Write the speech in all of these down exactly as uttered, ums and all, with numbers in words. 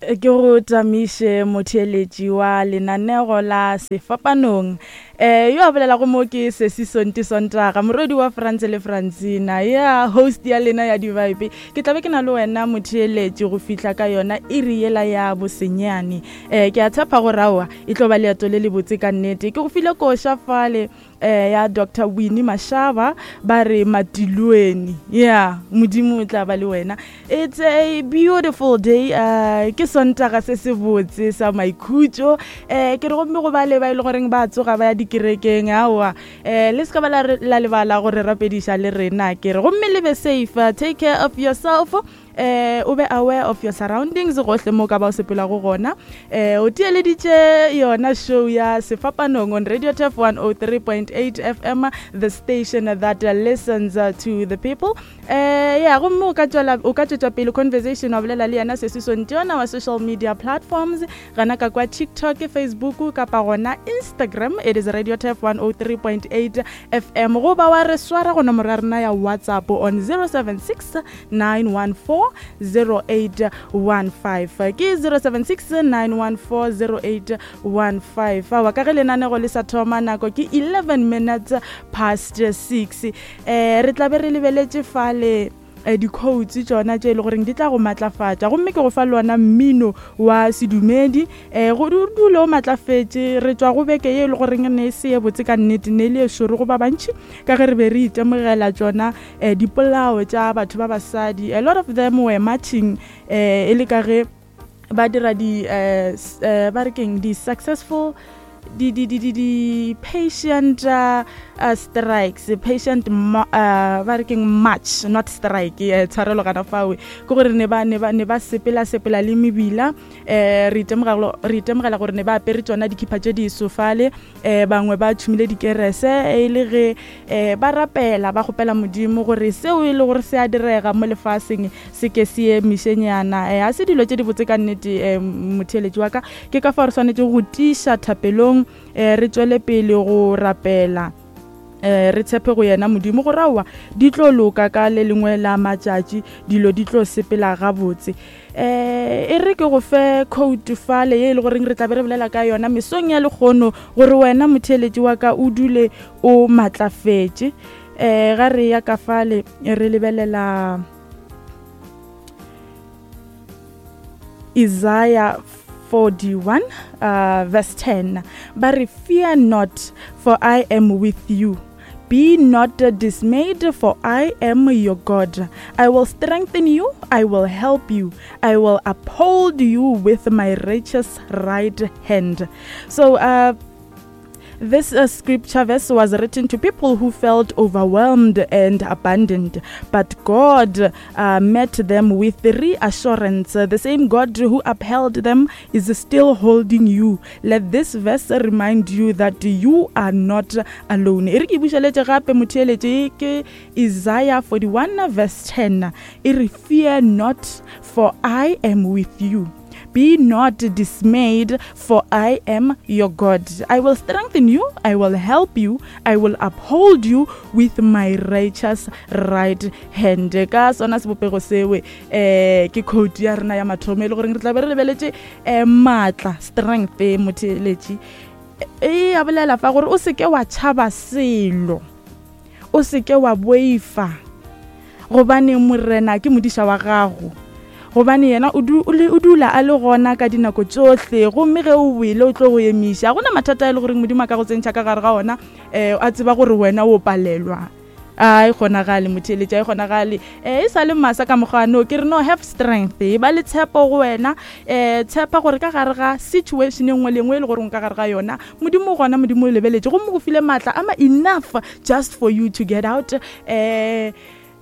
Ke go tamiše motheeletši wa lenanego la Sefapanong. Eh yo a bolelago mo ke Sesi Sonti Sontaga, morwedi wa France le Francina, ya host ya lena ya di-vibe. Ke tlabe ke na le wena motheeletši go fihla ka yona iri yela ya bosenyane. Eh ke a tshepa gore aowa e tlo ba leeto le lebotse ka nnete. Ke go file koša fale eh ya Doctor Winnie Mashaba ba re Matilweni. Yeah, Modimo o tla ba le wena. It's a beautiful day. Uh, ke Sontaga se se botse sa maikhutšo. Eh ke re gomme go ba le ba e le goreng ba tsoga ba ya dikerekeng aowa. Eh le se ka ba la, la lebala gore rapediša le rena ke re gomme le be safe. Take care of yourself. Eh o be aware of your surroundings gohle mo ka ba o sepelago gona. Eh o theeleditše yona show ya Sefapanong on Radio Turf one oh three point eight F M, the station that listens to the people. Eh ya gomme o ka tšwela, o ka tšwetša pele conversation wa bolela le yena Sesi Sonti on our social media platforms, gana ka kwa TikTok, Facebook kapa gona Instagram. It is Radio Turf one oh three point eight F M. Goba wa re swara go nomoro ya rena ya WhatsApp on zero seven six nine one four zero eight one five. Ke zero seven six nine one four zero eight one five. Aowa ka ge lenanego le sa thoma nako ke eleven minutes past six. Eh re tla be re lebeletše fale eh di-quotes tšona tše e le goreng di tla go matlafatša, gomme ke go fa lona mmino wa sedumedi. Eh go dule o matlafetše. Re tšwa go beke ye e le goreng ne e se ye botse ka nnete, ne e le e šoro go ba bantši ka ge re be re itemogela tšona eh dipolao tša batho ba basadi. A lot of them were marching eh e le ka ge ba dira di eh ba re keng di successful di di di di di patient uh, uh, strikes, patient uh, ba re keng march, not strike. Eh tshwarelo gana fawe ke gore ne ba ne ba ne ba sepela sepela le mebila. Eh re itemogela re itemogela gore ne ba apere tsona dikhipa tše di sofale, eh bangwe ba tšhumile dikerese e le ge eh ba rapela ba kgopela Modimo gore seo e le gore se a direga mo lefaseng se ke se emišenyana. Eh a se dilo tše di botse ka nnete. Eh motheeletši wa ka, ke ka fa re swanetše go tiiša thapelong, eh re tšwele pele go rapela, eh re tshepe go yena Modimo gore aowa di tlo loka ka le lengwe la matšatši, dilo di tlo sepela gabotse. Eh e re ke go fe quote fale ye e le goreng re tla be re bolela ka yona mesong ya lekgono gore wena motheeletši wa ka o dule o matlafetše. Eh ga re ya ka fale re lebelela Isaiah forty-one uh, verse ten. Ba re, fear not, for I am with you. Be not dismayed, for I am your God. I will strengthen you, I will help you, I will uphold you with my righteous right hand. So uh this uh, scripture verse was written to people who felt overwhelmed and abandoned, but God uh, met them with reassurance. The same God who upheld them is still holding you. Let this verse remind you that you are not alone. E re ke bušeletše gape motheeletše ke Isaiah forty-one verse ten. E re, fear not, for I am with you. Be not dismayed, for I am your God. I will strengthen you, I will help you, I will uphold you with my righteous right hand. Ka sona sebopego sewe eh ke quote ya rena ya mathomo e le goreng re tla be re lebeletše eh matla, strength motheeletši. E a bolela fa gore o seke wa tšhaba selo, o seke wa boifa, gobane Morena ke modiša wa gago, gobane yena o dula a le gona ka dinako tšohle, gomme ge o boile o tlo go emiša. Gona mathata a e le goreng Modimo a ka go tsentšha ka gare ga ona, eh a tseba gore wena o palelwa. A e kgonagale motheeletši, a e kgonagale. Eh e sa le masa ka mokgwano ke re no have strength, e ba le tshepo go wena, eh tshepa gore ka gare ga situation e nngwe le nngwe e le gore o ka gare ga yona Modimo gona, Modimo o lebeletše gomme go file matla ama enough just for you to get out. Eh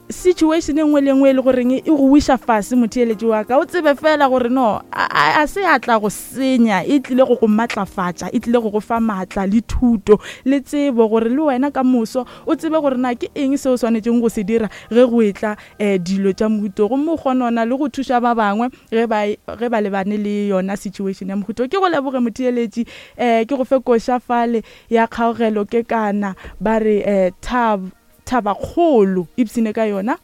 situation e nngwe le nngwe e le goreng e go wiša fase motheeletši wa ka, o tsebe fela gore no a se a tla go senya, e tlile go go matlafatša, e tlile go go fa matla le thuto le tsebo gore le wena ka moso o tsebe gore na ke eng seo o swanetšeng go se dira ge go etla eh dilo tša mohuto, gomme o kgonona le go thuša ba bangwe ge ba ge ba lebane le yona situation ya mohuto. Ke go leboge motheeletši, eh ke go fe koša fale ya kgaogelo ke kana ba re eh thab thabakgolo ipsene ka yona.